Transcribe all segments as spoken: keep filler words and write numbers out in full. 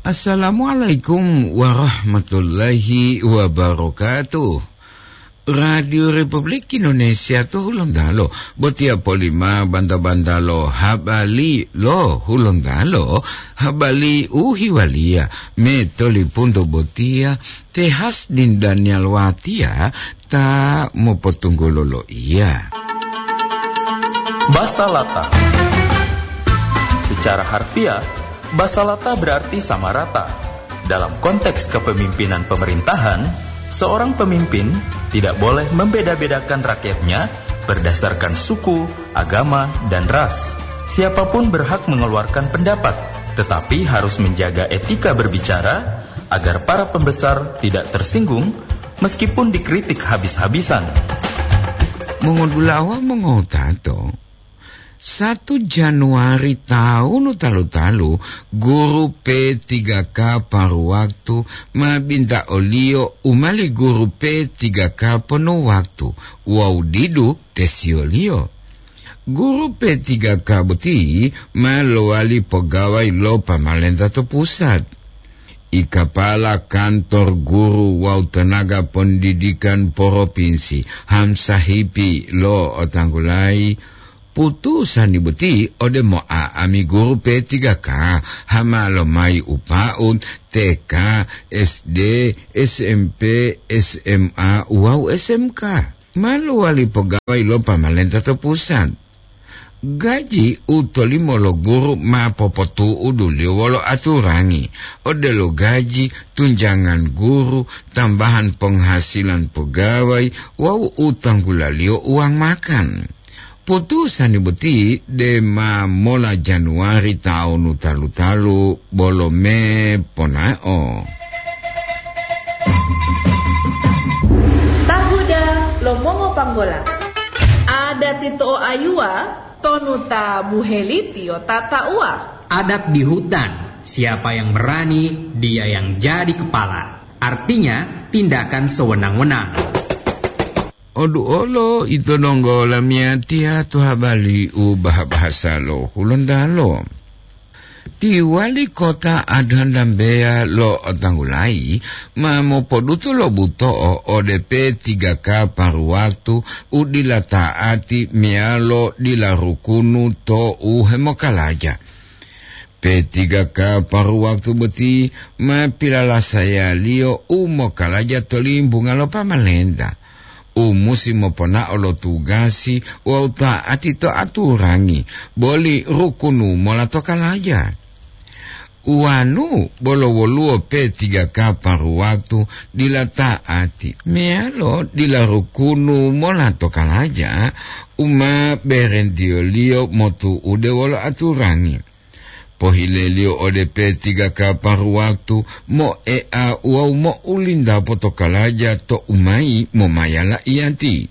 Assalamualaikum warahmatullahi wabarakatuh. Radio Republik Indonesia to Hulontalo, botiya polima banta-banta lo habari lo Hulontalo, habari u hiwaliya me tolipunto botiya, Tehas Din Daniel Watiya ta mopotunggulo loiya. Basa Lata. Secara harfiah, basa Lata berarti sama rata. Dalam konteks kepemimpinan pemerintahan, seorang pemimpin tidak boleh membeda-bedakan rakyatnya berdasarkan suku, agama, dan ras. Siapapun berhak mengeluarkan pendapat, tetapi harus menjaga etika berbicara agar para pembesar tidak tersinggung meskipun dikritik habis-habisan. Mongodulawa mongotato, satu Januari taun talu-talu, guru P tiga K paru waktu ma binta oliyo u mali guru P tiga K ponu waktu wawu didu tesiyoliyo. Guru P tiga K boti ma lowali pogawai lo pamalenta to pusat. I kapala kantor guru wawu tenaga pendidikan poropinsi, Hamsahipi lo otanggulayi, putusani boti ode mo'a'ami guru P tiga K, hama lomayi upaut T K, S D, S M P, S M A wawu S M K. Ma lowali pogawai lo pamalenta to pusat. Gaji u tolimo lo guru ma popotu'uduliyo wolo aturangi, odelo gaji, tunjangan guru, tambahan penghasilan pegawai, wawu u tanggulaliyo uang makan. Putusani boti dema mola Januari taunu talu-talu bolo me ponao. Tahuda lo mongopanggola. Adat ito ayuwa tonu ta buheli tiyo tatauwa. Adat di hutan, siapa yang berani, dia yang jadi kepala. Artinya, tindakan sewenang-wenang. Oduolo ito donggo lamiyatiya to habari u baha-bahasa lo Hulontalo. Ti wali kota Adhandambeya lo Tanggulayi ma mopodutu lo buto'o ode P tiga K paru waktu u dila ta'ati meyalo dila rukunu to u hemokalaja. P tiga K paru waktu boti ma pilalasayaliyo u mokalaja to limbunga lo pamalenta, u musi moponao lo tugasi wawu ta'ati to aturangi boli rukunu mola to kalaja. Uwanu bolo woluwo P tiga K paru waktu dila ta'ati meyalo dila rukunu mola to kalaja, u ma berentiyoliyo motu'ude wolo aturangi. Pohileliyo ode P tiga K paru waktu moea wawu mo'ulindapo to kalaja to umayi momaya laiyati.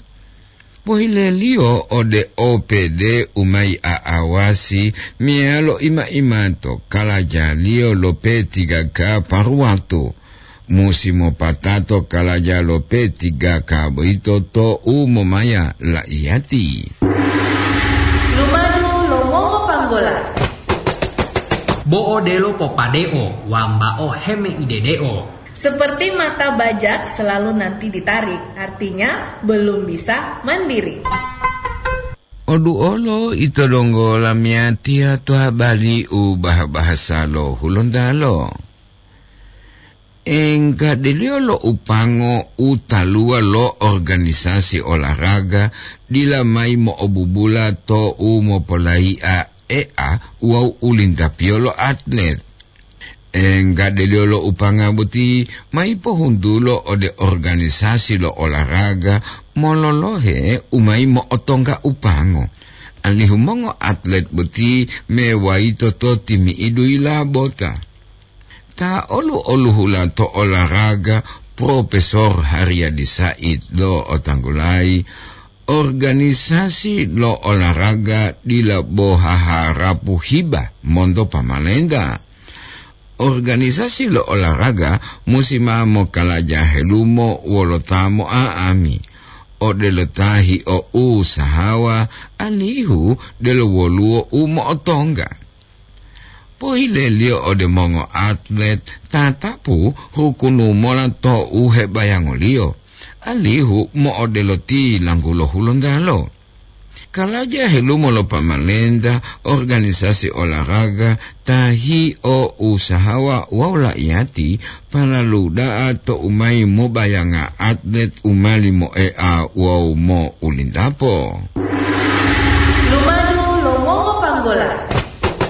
Pohileliyo ode O P D umayi a'awasi meyalo ima-imato kalajaliyo lo P tiga K paru waktu. Musi mopatato kalaja lo P tiga K boyito to u momaya laiyati. Lumadu lo mongopanggola. Bo'o delo popadeo, wambao hemeidedeo. Seperti mata bajak selalu nanti ditarik, artinya belum bisa mandiri. Oduolo ito donggo lamiyatiya to habari u baha-bahasa lo Hulontalo. Enggadeliyo lo upango u taluwa lo organisasi olahraga dila mayi mo'obubula to u mopolayi'a e'a wawu ulintapiyo lo atlet. Enggadeliyo lo upanga boti mayi pohuntulo ode organisasi lo olahraga mololohe u mayi mo'otongga upango, alihu mongoatlet boti mewayito to timi'idu yilabota. Ta olu-oluhula to olahraga, Profesor Haryadi Said lo otanggulayi, organisasi lo olahraga dila bo haharapu hiba monto pamalenta. Organisasi lo olahraga musi ma mokalaja helumo wolo ta mo'a'ami, odelo ta hio'usahawa alihu delo woluwo u mo'otongga. Poileliyo ode mongoatlet tatapu hukunu mola to u hebayangoliyo, alihu mo'odelo ti langgulo Hulontalo. Kalaja helumo lo pamalenta, organisasi olahraga, ta hio usahawa wawu la'iyati, palalu da'a to u mayi mobayanga atlet u mali mo'ea wawu mo'ulindapo.